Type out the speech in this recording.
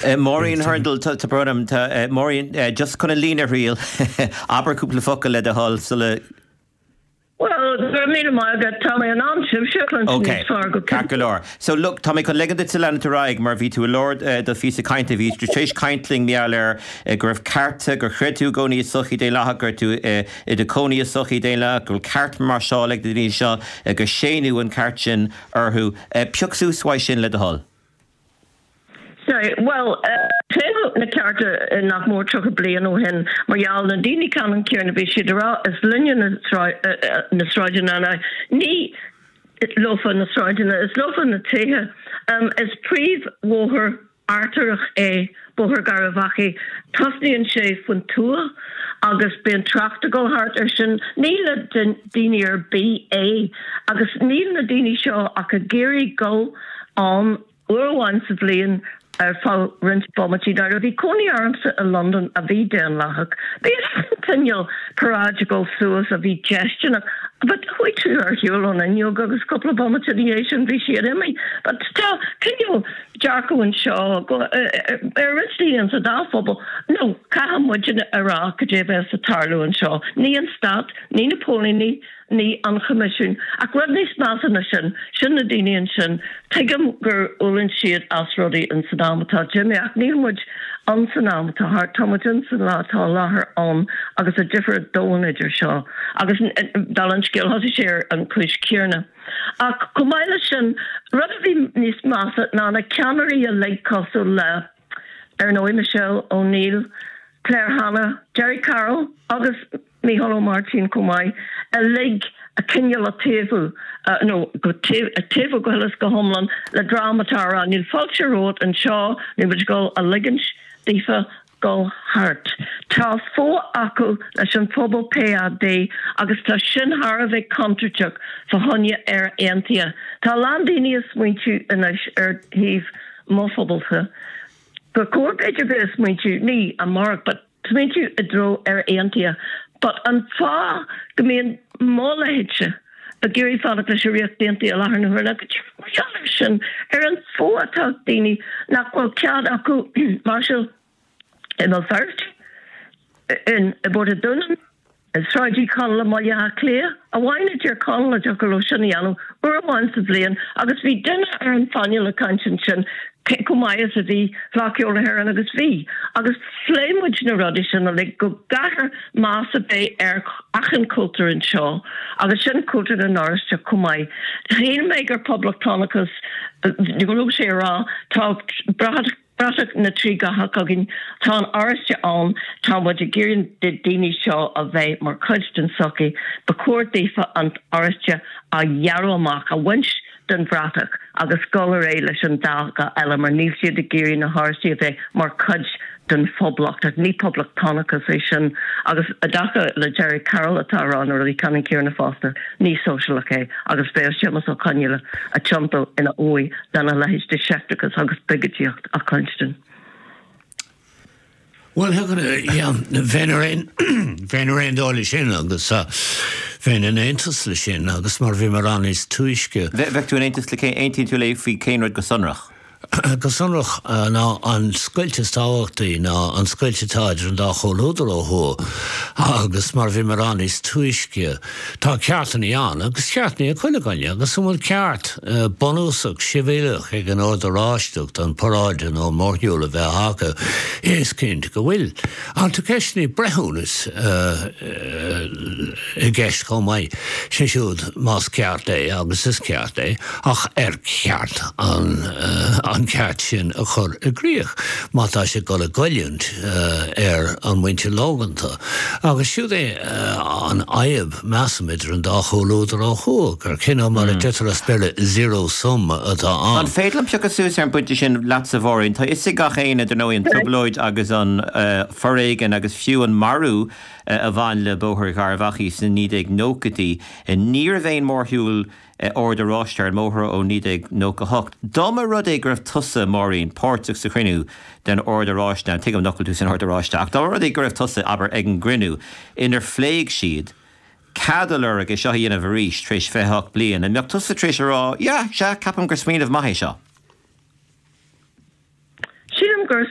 Máirín Hurndall, tá brón orm, tá Máirín just chun an líne a thriail. Abair cúpla focal le do thoil sula. Bhuel, go raibh míle maith agat, tá mé in ann sibhse a chluinstin Ok, níos fearr go ceart go cinnte. leor. So look, tá mé chun ligean duit leanúint ar aghaidh mar bhí tú i lár do phíosa cainte, bhí tú tar éis caint linn mar gheall ar go raibh cearta, gur chreid tú i gcónaí i sochaí daonlathach, go raibh tú i do chónaí i sochaí daonlathach, go bhfuil ceart máirseála ag na daoine seo, gur séanadh an ceart sin orthu. Pioc suas uaidh sin le do thoil. Sea, bhuel, séanadh na cearta nach mór 30 bliain ó shin mar gheall na daoine ceannann céanna, bhí siad ag rá is linne na sráideanna now ní leofa na sráideanna, is leofa na tithe. Is príomhbhóthar artaireach é Bóthar Gharbh Achaidh, tosnaíonn sé faoin tuath agus bíonn trácht ag dul thart air sin, ní le daoine ar bith é agus níl na daoine seo ach ag iarraidh dul ann uair amháin sa bhliain ar feadh roinnt bomaití. Nuair a bhí cónaí ormsa i Londain a bhí daonlathach, bhí an cineál paráid ag dul suas a bhí déistineach but chuaigh tú ar shiúl ón fhuinneog agus cúpla bomaite ina dhiaidh sin bhí siad imithe. But tá cineál dearcadh anseo go ar roinnt daoine insa dá phobal no caithfidh muidne a rá cad é a bheas ag tarlú anseo. Ní an stát, ní na póilíní, ní an Choimisiún. Ach rud níos measa ná sin, sin na daoine ansin, tuigim gur fhulaing siad as rudaí in san am atá imithe ach níl muid in san am atá thart, tá muid in san lá atá i láthair ann agus tá difear domhain idir seo agus dála an scéil thosaigh sé ar an chúis chéanna. Ach chomh maith leis sin, rud a bhí níos measa ná na ceannairí uilig cosúil le, ar ndóigh, Michelle O'Neill, Claire Hanna, Gerry Carroll agus Mícheál Ó Máirtín chomh maith, uilig a cineál a taobhú, nó go taobhú go huile is go hiomlán le dream atá a rá níl fáilte romhat anseo, níl muid ag dul a ligint daofa dul thart. Tá fuath acu leis an phobal PAD agus tá sin thar a bheith contúirteach fá choinne Éire Aontaithe. Tá a lán daoine ag smaointiú anois ar thaobh mo phobalsa gur chóir b'fhéidir bheith ag smaointiú, ní amárach but smaointiú i dtreo Éire Aontaithe but an fáth go mbíonn mo leithéidse ag iarraidh fanacht leis an Ríocht Aontaithe i láthair na huaire ná go díreach mar gheall air sin, ar an fuath atá ag daoine nach bhfuil cead acu máirseáil i mBéal Feirste, in i bPort an Dúnáin, i Sráid Uí Chonaill i mBaile Átha Cliath amháin i dTír Chonaill a dtiocfadh leo sin a dhéanamh uair amháin sa bhliain agus bhí duine ar an phainéal ag caint ansin cé chomh maith is a bhí Fleadh Cheoil na hÉireann agus bhí agus phléigh muid na rudaí sin uilig go gcaithfear meas a bheith ar achan chultúr anseo agus sin cultúr na nOráisteach chomh maith. Shíl mé gur poblachtánachas go raibh sé a rá tá bratach Bratach na dtrí dhath againn. Tá an Oráiste ann, tá muid ag iarraidh na daoine seo a bheith mar chuid den tsochaí. Ba chóir daofa an Oráiste a ghearradh amach, a bhaint den bhratach agus dul ar aghaidh leis an dá dhath eile mar níl siad ag iarraidh na hOráistigh a bheith mar chuid den phoblacht. Ní poblachtánachas é sin agus i dtaca le Gerry Carroll atá ag rá na rudaí ceannann céanna fosta, ní sóisialach é agus bheadh Séamus Ó Conghaile ag tiontú ina uaigh lena leithéid de sheicteachas agus biogaidíocht a chluinstin. Bhuel, bheinn ar aon, bheinn ar aon dóigh leis sin agus bheinn in aontas leis sin agus mar a bhí mé a rá níos túisce. Bheadh tú in aontas le cén, aontaíonn tú léi faoi cén rud go sonrach? Go sonrach ná an scoilt is tábhachtaí ná an scoilt atá idir an dá chomhluadar ó thuaidh agus mar a bhí mé a rá níos túisce tá ceartannaí ann agus ceartannaí ag chuile dhuine agus an bhfuil ceart bunúsach sibhialach ag an Ord Oráisteach don paráid nó an mórshiúl a bheith acu? Is cinnte go bhfuil. Ach tá ceisteannaí breithiúnais i gceist chomh maith, sé siúd más ceart é agus is ceart é. Ach ar cheart an ceart sin a chur i gcrích má tá sé ag dul i goilliúint ar an muintir lóganta? Agus siúd é an fhadhb, measaim, idir an dá chomhluadar ó thuaidh, gur cineál, mar a deirtear as Béarla, zero sum atá ann. An féidir liom piocadh suas ar an bpointe sin leatsa, a Mháirín? Tá fhios ag gach éinne, dar ndóigh, an trioblóid agus an foréigean agus fiú an marú a bhain le Bóthar Gharbh Achaidh sna 1990idí. Ní raibh aon mhórshiúl Ord Oráiste ar an mbóthar ó 1998. Dá mba rud é go raibh tusa, Máirín, páirteach sa chruinniú den Ord Oráiste, now tuigim nach bhfuil tú san Ord Oráiste, ach dá mba rud é go raibh tusa, abair, ag an gcruinniú inar phléigh siad cead a lorg é seo a dhéanamh arís tar éis 28 bliain, an mbeadh tusa tar éis a rá, yeah, sea, ceapaim gur smaoineamh maith é seo? Sílim. gur.